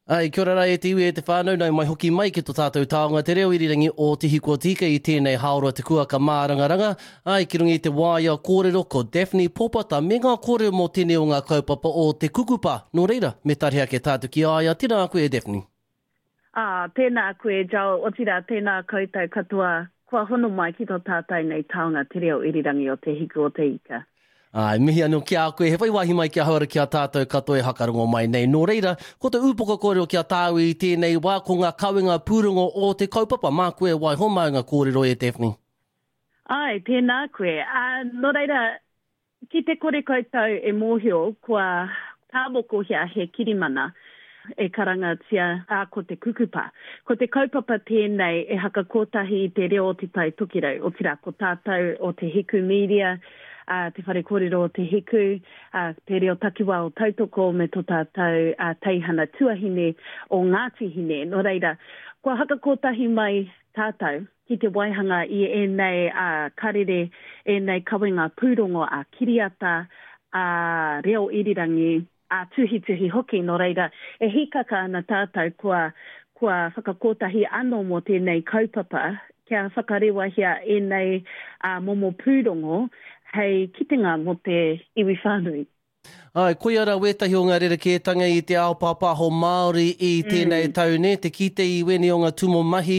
Ai, kia ora rā e te iwi e te whānau, nau mai hoki mai ki to tātou taonga te reo irirangi o Te Hiku o Te Ika i tēnei hāora te kuaka mārangaranga, ai, ki runga i te waea kōrero ko Daphne Popata me ngā kōrero mō tēnei o ngā kaupapa o Te Kukupa. Nō reira, me tarihe ake tātou ki a ia, tēnā koe e Daphne. Ā, tēnā koe Joel, otirā tēnā koutou katoa kua hono mai ki tō tātou nei taonga te reo irirangi o Te Hiku o Te Ika. Āe, mihi anō ki a koe, he whai wāhi mai ki ahau ara ki a tātou katoa e hakarongo mai nei. Nō reira, ko te ūpoko kōrero ki a tāu i tēnei wā, ko ngā kawenga pūrongo o te kaupapa. Māku e waiho māu ngā kōrero e Daphne. Āe, tēnā koe. Ā, nō reira, Ki te kore koutou e mōhio kua tāmokohia he kirimana e karangatia a ko te kukupa. Ko te kaupapa tēnei e hakakotahi i te reo o Te Tai Tokerau, otirā ko tātou o Te Hiku Media, a Te Whare Kōrero o Te Hiku, a Te Reo Takiwā o Tautoko me tō tātou teihana tuahine o Ngāti Hine. Nō reira, kua hakakotahi mai tātou. ki te waihanga i ēnei karere, ēnei kawenga pūrongo ā-kiriata, ā-reo irirangi, ā-tuhituhi hoki, nō reira, e hīkaka ana tātou kua, kua whakakotahi anō mō tēnei kaupapa kia whakarewahia ēnei momo pūrongo hei kitenga mō te iwi whānui. Āe, koia rā wētahi o ngā rerekētanga i te ao pāpāho Māori i tēnei tau, nē, te kite i wēnei o ngā tūmomo mahi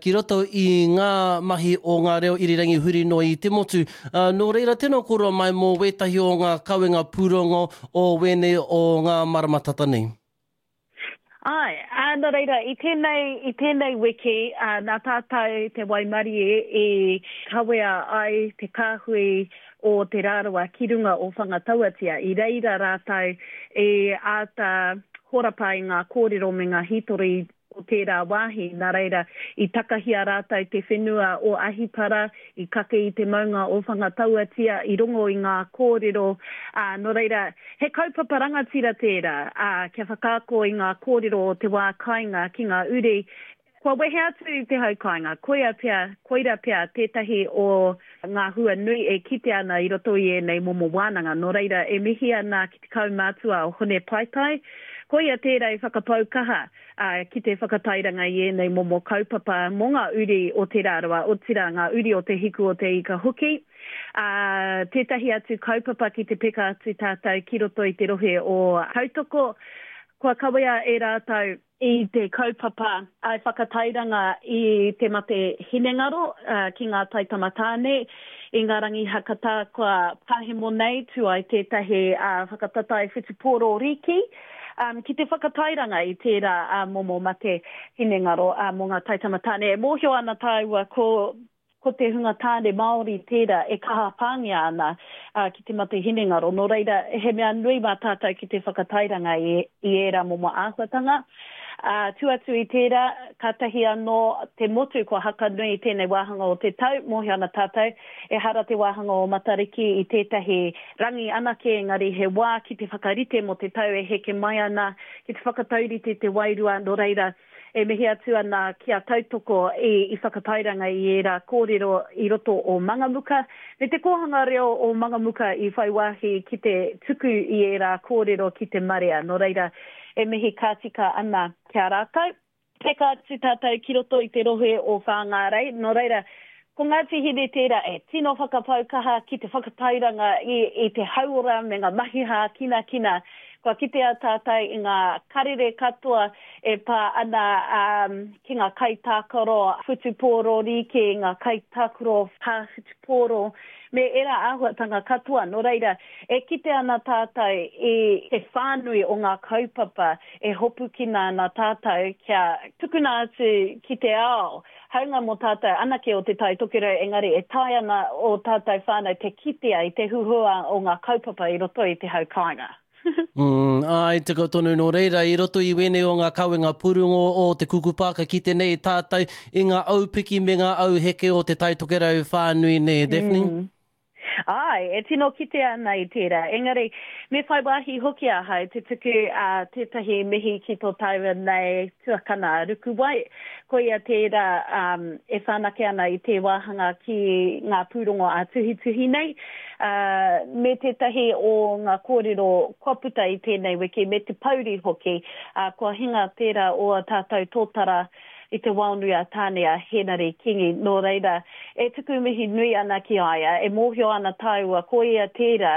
ki roto i ngā mahi o ngā reo irirangi huri noa i te motu. Nō reira, tēnā kōrua mai mō wētahi o ngā kawenga pūrongo o wēnei o ngā marama tata nei. Āe, ā, nō reira, i tēnei, i tēnei wiki, ā, nā tātou te waimarie i kawea ai te kāhui o Te Rarawa ki runga o Whangatauatia. I reira rātou i āta horapa i ngā kōrero me ngā hītori o tērā wāhi, nā reira, i takahia rātou te whenua o Ahipara, i kake i te maunga o Whangatauatia, i rongo i ngā kōrero, ā, nō reira, he kaupapa rangatira tērā, ā, kia whakaako i ngā kōrero o te wā kāinga ki ngā uri kua wehe atu i te hau kāinga. Koia pea, koira pea tētahi o ngā hua nui e kitea ana i roto i ēnei momo wānanga. Nō reira, e mihi ana ki te kaumātua o Hone Paetai, koia tērā i whakapau kaha ki te whakatairanga i ēnei momo kaupapa mō ngā uri o Te Rarawa, otirā ngā uri o Te Hiku o Te Ika hoki. Ā, tētahi atu kaupapa ki te peka atu tātou ki roto i te rohe o Tautoko, kua kawea e rātou i te kaupapa i whakatairanga i te mate hinengaro ki ngā taitama tāne. I ngā rangi hakatā kua pahemo nei, tū ai tētahi whakatatae whutupōro rīki ki te whakatairanga i tērā momo mate hinengaro mō ngā taitama tāne. E mōhio ana tāua ko ko te hunga tāne Māori tērā e kaha pāngia ana ki te mate hinengaro. Nō reira, he mea nui mā tātou ki te whakatairanga i, i ērā momo āhuatanga. Ā, tū atu i tērā, kātahi anō te motu kua haka nui i tēnei wāhanga o te tau, mōhio ana tātou, ehara te wāhanga o Matariki i tētahi rangi anake, engari he wā ki te whakarite mō te tau e heke mai ana, ki te whakataurite te wairua, nō reira, E mihi atu ana ki a Tautoko i whakatairanga i ērā kōrero i roto o Mangamuka, me te kōhanga reo o Mangamuka i whai wāhi ki te tuku i ērā kōrero ki te marea. Nō reira, e mihi ka tika ana ki a rātou. Peka atu tātou ki roto i te rohe o Whāngārei, nō reira, Ko Ngāti Hine tērā e tino whakapau kaha ki te whakatairanga i te hauora me ngā mahi hākinakina. Kua kitea tātou i ngā karere katoa e pā ana ki ngā kaitākaro whutupōro rīki, ngā kaitākaro pā whutupōro, me ērā āhuatanga katoa. Nō reira, e kite ana tātou i te whānui o ngā kaupapa e hopukina ana tātou kia tukuna atu ki te ao Hāunga mō tātou anake o Te Tai Tokerau engari e taea ana ō tātou whānau te kitea i te huhua o ngā kaupapa i roto i te hau kāinga. Mm, āe, tika tonu nō reira, i roto i wēnei o ngā kawenga purungo o te kukupa ka kite nei tātou i ngā aupiki me ngā auheke o Te Tai Tokerau whānui nē, Daphne? Mm. Āe, e tino kitea ana i tērā. Engari, me whai wāhi hoki ahau te tuku tētahi mihi ki tō tāua nei tuakana a Rukuwai. Koia tērā e whanake ana i tē wāhanga ki ngā pūrongo ā-tuhituhi nei, me tētahi o ngā kōrero kua puta i tēnei wiki, me te pouri hoki, kua hinga tērā o ā tātou tōtara i te waonui a Tāne a Hēnare Kīngi, nō reira, e tuku mihi nui ana ki a ia, e mōhio ana tāua ko ia tērā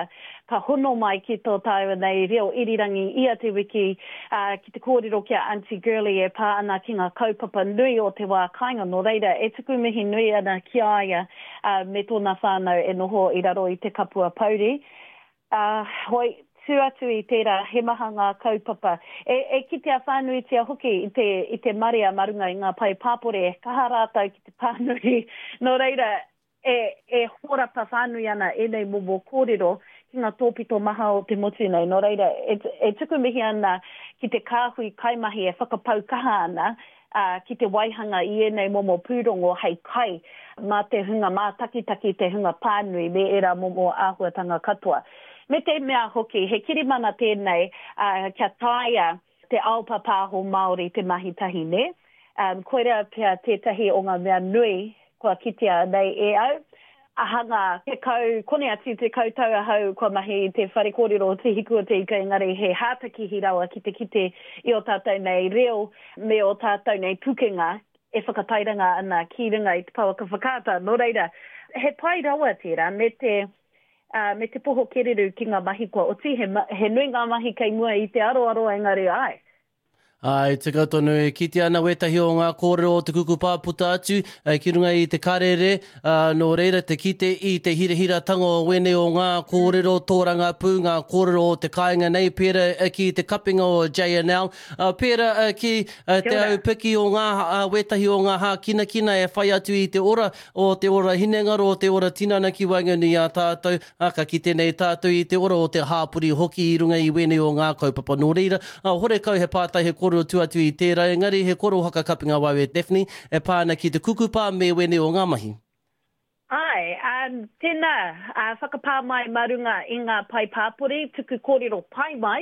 ka hono mai ki tō tāua nei reo irirangi ia te wiki, ā, ki te kōrero ki a Aunty Girlie e pā ana ki ngā kaupapa nui o te wā kāinga, nō reira, e tuku mihi nui ana ki a ia, ā, me tōna whānau e noho i raro i te kapua pouri. Ā, hoi, tū atu i tērā, he maha ngā kaupapa. E, e kitea whānuitia hoki i te, i te marea mā runga i ngā pae pāpori, e kaha rātou ki te pānui. Nō reira, e, e hōrapa whānui ana ēnei momo kōrero ki ngā tōpito maha o te motu nei. Nō reira, e, e tuku mihi ana ki te kāhui kaimahi e whakapau kaha ana ā, ki te waihanga i ēnei momo pūrongo hei kai mā te hunga mātakitaki, te hunga pānui me ērā momo āhuatanga katoa. Me te mea hoki, he kirimana tēnei, ā, kia taea te ao pāpāho Māori te mahi tahi, nē? Ā, koirā pea tētahi o ngā mea nui kua kitea nei e au. Hanga 10, kone atu 10 tau ahau kua mahi i te whare kōrero o Te Hiku o Te Ika engari he hātakihi rawa ki te kite i ō tātou nei reo me ō tātou nei pukenga e whakatairanga ana ki runga i te pouaka whakaata. Nō reira, he pai rawa tērā me te, ā, me te poho kereru ki ngā mahi kua oti, he, he nui ngā mahi kei mua i te aroaro engari āe, Āe, tika tonu, e kitea ana wētahi o ngā kōrero o te kukupā puta atu ki runga i te karere, ā, nō reira te kite i te hirahiratanga o wēnei o ngā kōrero tōrangapū, ngā kōrero o te kāinga nei, pērā ki te kapinga o JNL, ā, pērā ki te aupiki o ngā, wētahi o ngā hākinakina e whai atu i te ora, o te ora hinengaro, o te ora tinana ki waenganui i a tātou, Ā, ka kite nei tātou i te ora o te hāpori hoki i runga i wēnei o ngā kaupapa. Nō reira, ā, horekau he pātai he kōrero tua atu i tērā, engari he koro whakakapinga wau e Daphne e pā ana ki te kukupā me wēnei o ngā mahi. Āe, ā, tēnā, ā, whakapā mai mā runga i ngā pae pāpori, tuku kōrero pai mai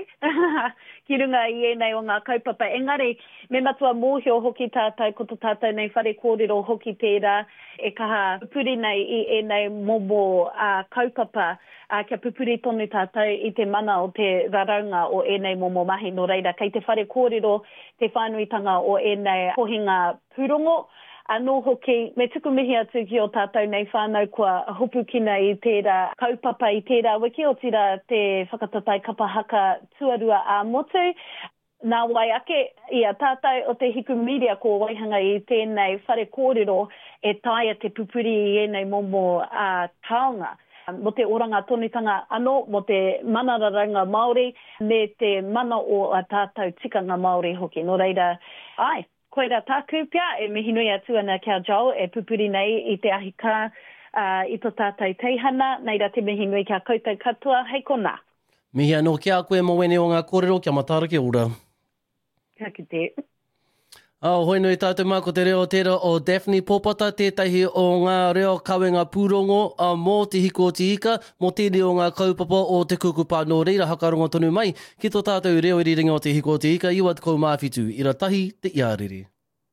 ki runga i ēnei o ngā kaupapa. Engari, me matua mōhio hoki tātou ko to tātou nei whare kōrero hoki tērā, e kaha pupuri nei i ēnei momo kaupapa, kia pupuri tonu tātou i te mana o te raraunga o ēnei momo mahi. Nō reira, kei te whare kōrero te whānuitanga o ēnei kohinga pūrongo. Anō hoki, me tuku mihi atu ki ō tātou nei whānau kua hopukina i tērā kaupapa i tērā wiki, otirā te whakatatae kapa haka tuarua ā-motu. Nā wai ake, i a tātou o Te Hiku Media kua waihanga i tēnei whare kōrero e taea te pupuri i ēnei momo taonga mō te oranga tonutanga anō, mō te mana raraunga Māori me te mana o ā tātou tikanga Māori hoki. Nō reira, āe, koirā tāku pea e mihi nui atu ana ki a Joel e pupuri nei i te ahi kā, i to tātou teihana, nei rā te mihi nui ki a koutou katoa, hei konā. Mihi anō ki a koe mō wēnei o ngā kōrero, kia mataara kia ora. Ka kite. Oh, hoi nui tātou mā, ko te reo tērā o Daphne Pōpata, tētahi o ngā reo kawenga pūrongo mō Te Hiku o Te Ika, mō tēnei o ngā kaupapa o Te Kukupā. Nō reira, hakarongo tonu mai ki tō tātou reo irirangi o Te Hiku o Te Ika, 97, ira tahi te iarere.